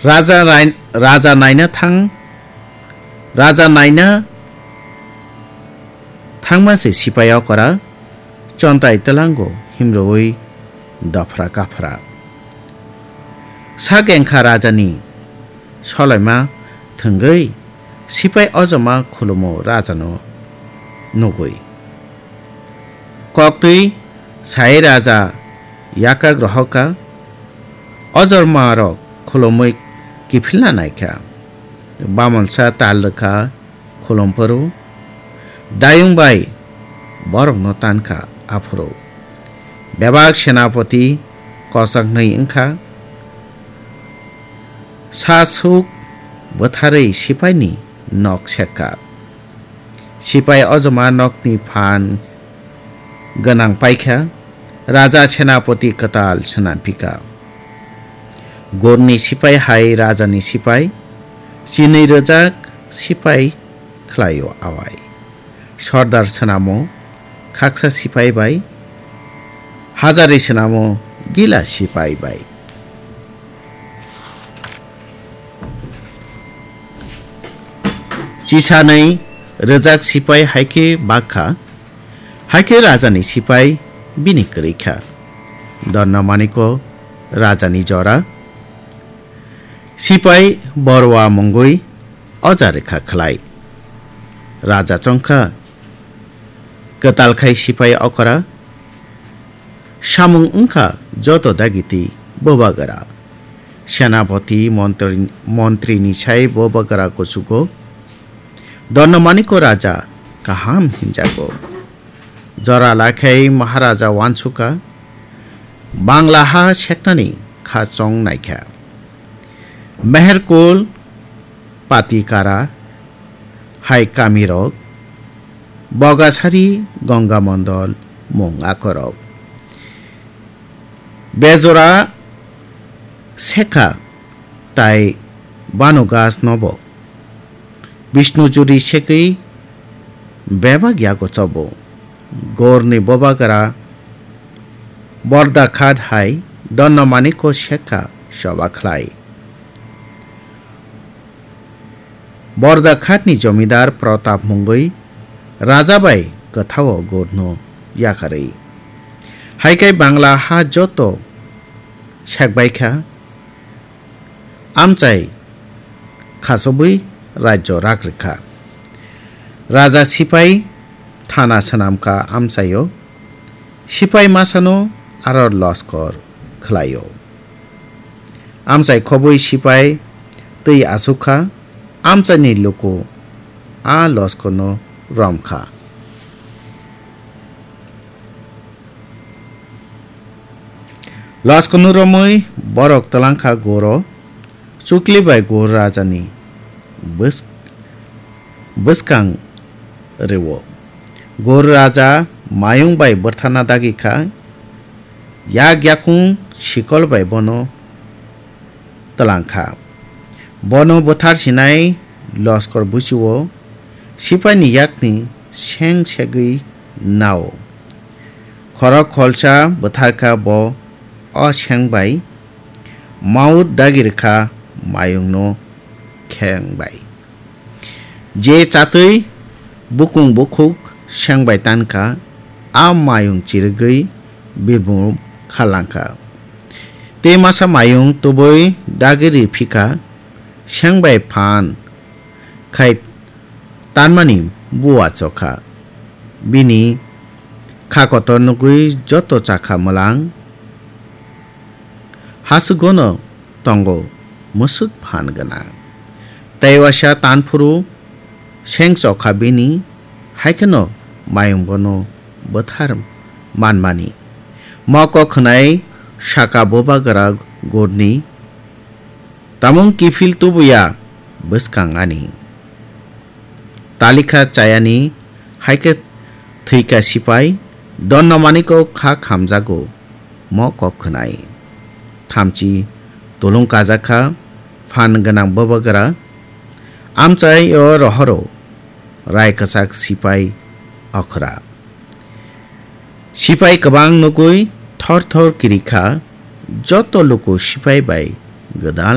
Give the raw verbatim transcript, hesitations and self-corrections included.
Raja rai-, raja naina thang, raja naina thangma se sipai okora chontai tlango himrwi dophra kaphra. Sak engkha rajani solaima thwngwi sipai ojoma khulumo rajano nugwi. Koktwi sai raja yakak rohorkha, ojormarok khulumwi kiphilna naikha. Bamonsa tal rwkha khulum phuru, dayung bai borokno tankha aphuru. Bebak senapati kochaknwi wngkha, sa suk bwtharwi sipaini nok sekkha. Sipai ojoma nokni phan gwnang paikha, raja senapati kwtal swnamphikha. Gorni sipai hai rajani sipai, chinwi rwjak sipai khlaio awai. Sordar swnamo khaksa sipai bai, hajari swnamo gila sipai bai. Chisanwi rwjak sipai hai khe bakha, hai khe rajani sipai bini kwrwi kha. Donna Maniko rajani jora, sipai borwa mungwi oja rwkha khlai. Raja chongkha, kwtal khai sipai okora, samung wngkha joto dagiti bobagra. Senapati montri, montrini sai bobagra kuchugo. Donna Maniko raja kaham hinjago. Jora lakhai Maharaja wansukha, Bangla ha seknani kha chong naikha. Meherkul, Patikara, hai kamirok, Bogasari, Gongamondol, mung akorok. Bejora sekha tai banu gas nobo. Bishnu juri segwi bebak yago chobo. Gorni bobagra Bordakhat hai Donna Maniko sekha soba khlai. Bordakhatni jomidar Pratap mungwi raja bai kwthao gorno yakarwi. Haikai Bangla ha joto sekbaikha, amchai khachobwi rajyo rak rwkha. Raja sipai thana swnamkha amchaio, sipai masano aro loskor khlaio. Amchai khobwi sipai twi asukha, amchaini luku a loskorno romkha. Loskorno romwi borok twlangkha goro, chukli bai gor rajani bwsk-, bwskang rwo. Gor raja mayung bai bwrthana dagi kha, yak yakung sikol bai bono twlang kha. Bono bwthar sinai loskor buchio sipaini yakni seng segwi nao. Khorok kholsa bwthar kha bo o seng bai, maut dagi rwkha mayungno kheng bai. Je chatwi bukung bukhuk seng bai tankha, a mayung chirigwi birbum khalangkha. Tei masa mayung tubui dagiri phikha, seng bai phan khai tanmani buwa chokha. Bini kha kotor nugwi joto chakha mwlang. Hasugono tongo mwswk phan gwnang. Tei waisa tanphuru seng chokha bini, hai kheno mayung bono bwthar manmani. Moko khwnai saka bubagra gurni, tamung kiphil tubuya bwskang ani. Talikha chayani hai khe thwikha sipai, Donna Maniko kha khamjago mo kok khwnai. Thamchi tulung kajakha phan gwnang bubagra, amchai o rohoro rai kwchak sipai okhra. Sipai kwbang nugwi thor thor kirikha, joto luku sipai bai gwdal